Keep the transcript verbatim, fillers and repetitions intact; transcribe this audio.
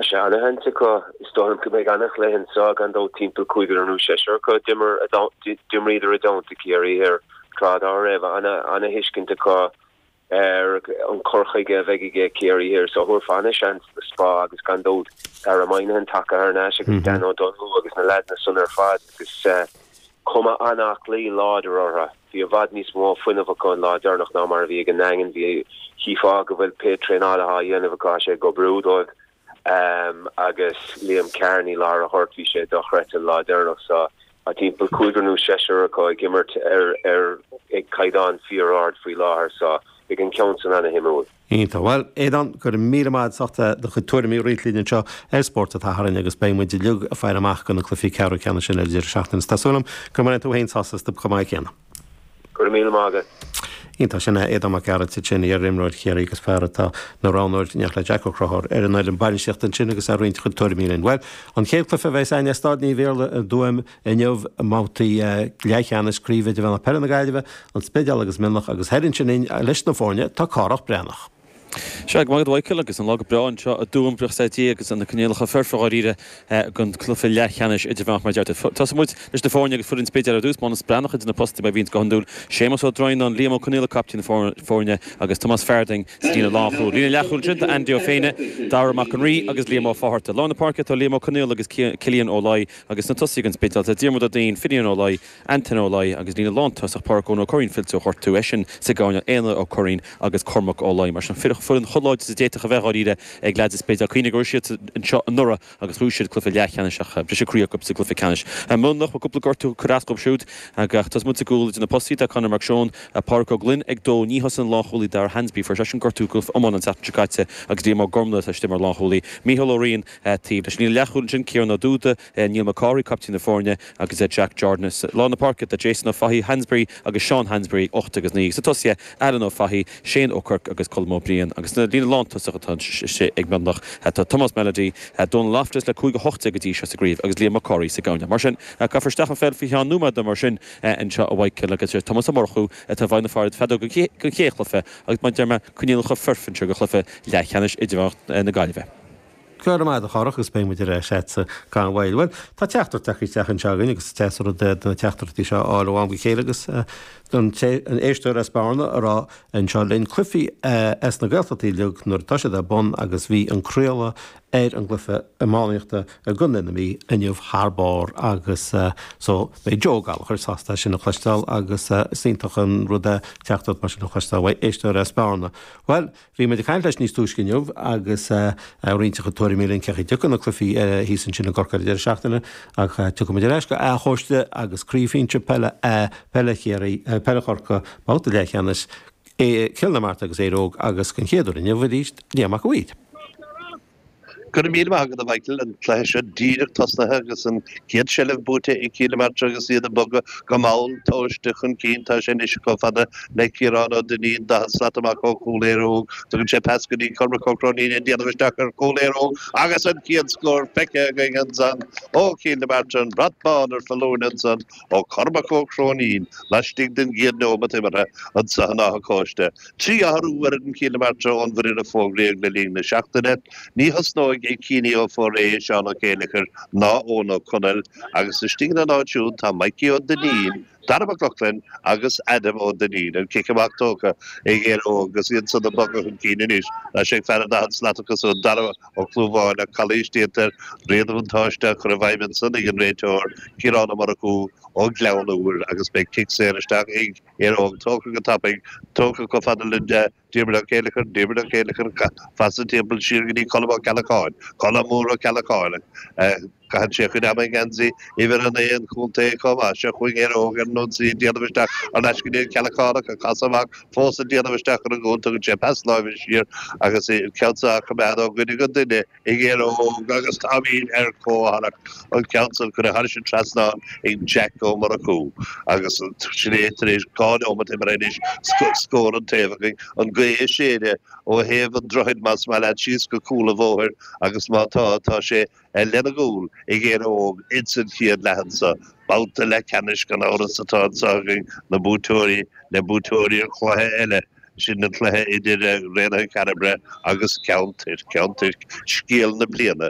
Sé ana-sheans acu is dóigh liom go mbeidh an-chluiche anseo gan dabht timpeall cúigear nó seisear acu d'imir d'imríodar i dteannta Ciarraí Thoir tráth dá raibh ana-thuiscint acu ar an cur chuige a bheidh ag Ciarraí Thoir so thabharfá ana-sheans do Spa agus gan dabht Dara Moynihan tagtha thar n-ais agus Dan O'Donoghue agus na leaideanna san ar fad agus cuma an-aclaí láidir orthu. Bhí i bhfad níos mó fuinnimh acu an lá deireanach ná mar a bhí ag an nDaingean. Bhí chífeá go bhfuil pé traenáil atá á dhéanamh acu tá sé ag oibriú dóibh. Um, agus Liam Kearney lár an ghoirt bhí sé dochreidte an lá deireanach so tá timpeall cúigear nó seisear acu ag imirt ar ar ag caighdeán fíor-ard faoi láthair so beidh an ceann san ana-shuimiúil. Iontach. Bhuel, Aodán, go raibh míle maith agat as ucht do chuid tuairimí a roinnt linn anseo ar Spórt an tSathairn agus beidh muid uilig ag faire amach do na cluichí ceathrú ceannais sin ar deireadh seachtaine. Tá súil agam go mbeidh tú féin sásta chomh maith céanna. Go raibh míle maith agat. Iontach sin é Aodán Mac Gearailt sin iar-imreoir Chiarraí agus fear atá ina roghnóir in éineacht le Jack Ó Conchúir ar an fhoireann bainistíochta ansin agus ag roinnt a chuid tuairimí linn. Bhuel, an chéad chluiche a bheas againn i Staid Naomh Iarlaith i dTuaim inniu i mbabhtaí leathcheannais Craobh Idirmheánach Peile na Gaillimhe, An Spidéal agus Mionlach agus thoir ansin leis na foirne tá Cárthach Breathnach. Sea, go maith agat Michael agus an lá go breá anseo i dTuaim buíochas le Dia agus na coinníollacha foirfe dháiríre don cluiche leathcheannais idirmheánach mar deir tú. Tosóidh muid leis na foirne agus foireann an Spidéil ar dtús, Mánas Breathnach idir na postaí mar a bhíonns go hiondúil, Séamus Ó Droighneáin, Liam Ó Conaola captaen na foirne agus Tomás Farding sa líne lánchúil. Líne leathchúil ansin tá Andy Ó Féinne, Dara Mac an Rí agus Liam Ó Fátharta. Lár na páirce tá Liam Ó Conaola agus Cillian Ó Laoi agus na tosaithe don Spidéal tá Diarmuid Ó Duinn, Finian Ó Laoi, Antain Ó Laoi agus líne lántosach Pádraig Eoin Ó Curraoin fillte ó ghortú eisean sa gcoirnéal Éanna Ó Curraoin agus Cormac Ó Laoi. Mar sin foireann chomh láidir is a d'fhéadfadh a bheith dháiríre ag leaids an Spidéil. Cuimhnigh go raibh siad anseo anuraidh agus bhuaigh siad cluiche leathcheannais ach briseadh croí acu sa gcluiche ceannais. Mionlach bhfuil cúpla gortú ag cur as dóibh siúd ach tosóidh muid sa gcúl idir na postaí tá Conor Mac Seoin, Pádraig Ó Gloinn ag dó ní thosaíonn an lánchúlaí Dara Hansby fuair seisean gortú i gcluiche iomána an tseachtain seo caite agus Liam Ó Gormlaith atá istigh mar lánchúlaí. Mícheál Ó Riain taobh leis. Líne leathchúil ansin Ciarán Ó Dúda, Neil McCarthy, captaen na foirne agus Jack Jordan. Lár na páirce tá Jason Ó Fathaigh Hansbury agus Seán Hansbury ocht agus naoi. Sa tosaithe Alan Ó Fathaigh, Shane Ó Quirk agus Colm Ó Briain agus na líne lántosach atá istigh ag Mionlach tá Thomas Melody, Donal Loftus le cúig a hocht déag go dtí seo sa gcraobh agus Liam McCarthy sa gcoirnéal. Mar sin caithfear isteach an pheil faoi cheann nóiméad mar sin anseo a Mhichael agus Thomas Ó Murchú atá i bhfeighil na feadóige don chéad chluiche agus mar a deir mé coinníollacha foirfe anseo do chluiche leathcheannais idirmheánach na Gaillimhe. Go raibh maith agat a Chárthaigh agus beidh muid ar ais agatsa gan mhoill. Bhuel, tá teachtaireacht tagtha isteach anseo againn agus is deas an rud é na teachtaireachtaí seo a fháil ó am go chéile agus an éisteoir as Bearna a rá anseo linn cluichí as na Gaeltachtaí uilig nuair atá siad ar bun agus bhí an craoladh ar an gcluiche iománaíochta i gContae na Mí inniu thar barr agus so beidh Joe Gallagher sásta sin a chloisteáil agus is iontach an rud é teachtaireacht mar sin a chloisteáil uaidh éisteoir as Bearna. Bhuel, bhí muid ag caint leis níos túisce inniu agus ag roinnt a chuid tuairimí linn cén chaoi a dtiocfaidh na cluichí thíos ansin i gCorcaigh ar an deireadh seachtaine ach tiocfaidh muid ar ais go Áth Chóiste agus Craobh Shinsir Peile A, Peile Chiarraí, Peile Chorcaí, babhta leathcheannais, Cill na Martra agus Éire Óg agus den chéad uair inniu arís, Liam Mac a' Mhaoir. Go raibh míle maith agat a Mhichael, an cluiche seo díreach tosnaithe agus an chéad seilbh buaite ag Cill na Martra agus iad ag bogadh go mall tomhaiste chun cinn. Tá sé anois chomh fada le Ciarán Ó Duinnín, daichead slat amach ó chúl Éire Óg. Tugann sé pas go dtí Cormac Ó Cróinín ag déanamh isteach ar chúl Éire Óg agus an chéad scór feicthe againn ansan ó Chill na Martra, an brat bán ar foluain ansan ó Chormac Ó Cróinín laistigh den gcéad neomat imeartha anso in Áth Cóiste. Trí athrú ar fhoireann Chill na Martra ón bhfoireann a fógraíodh le linn na seachtaine. Ní thosnóidh Ciní Ó Foraidh, Seán Ó Céileachair ná Eoin Ó Conaill agus istigh ina n-áit siúd tá Mikey Ó Duinnín, Dara Mac Lochlainn agus Adam Ó Duinnín. An cic amach tógtha ag Éire Óg agus iad san ag bogadh chun cinn anois. Tá sé ag fear an daichead slat acu san, Dara Ó Clúmháin ach calaois déanta air. Réadbhuntáiste á chur i bhfeidhm ansan ag an réiteoir, Ciarán Ó Murchú ó Ghleann Úir agus beidh cic saor isteach ag Éire Óg tógtha go tapaidh, tógtha chomh fada le Diarmuid Ó Céileachair, Diarmuid Ó Céileachair, pasa timpeall siar go dtí Colm Ó Ceallacháin, Colm Mór Ó Ceallacháin, caitheann sé a chuid ama i ngeansaí uimhir a naoi an chontae chomh maith. Seo chugainn Éire Óg ar an ionsaí ag déanamh isteach thar n-ais go dtí an Ceallachánach, ag casadh amach fós ag déanamh isteach ar an gcúl, tugann sé pas láimhe siar agus an ceann seo á choimeád ó dhuine go duine. ag Éire Óg agus táimid ar comhtharrac an ceann san curtha thairis an trasnán ag Jack Ó Murchú agus sin é tar éis dhá neomat imeartha anois scór an taobh againn. An ghaoth ag séideadh ó thaobh an droichid más maith leat síos go cúl an bhóthair agus má tá, tá sé lena gcúl ag Éire Óg ins an chéad leath anso. Babhta leathcheannais gan amhras atá anso againn, na buaiteoirí le buaiteoirí an chluiche eile. Sin an cluiche idir Raonaithe Chairbre agus Ceann Toirc, Ceann Toirc, scéal na bliana.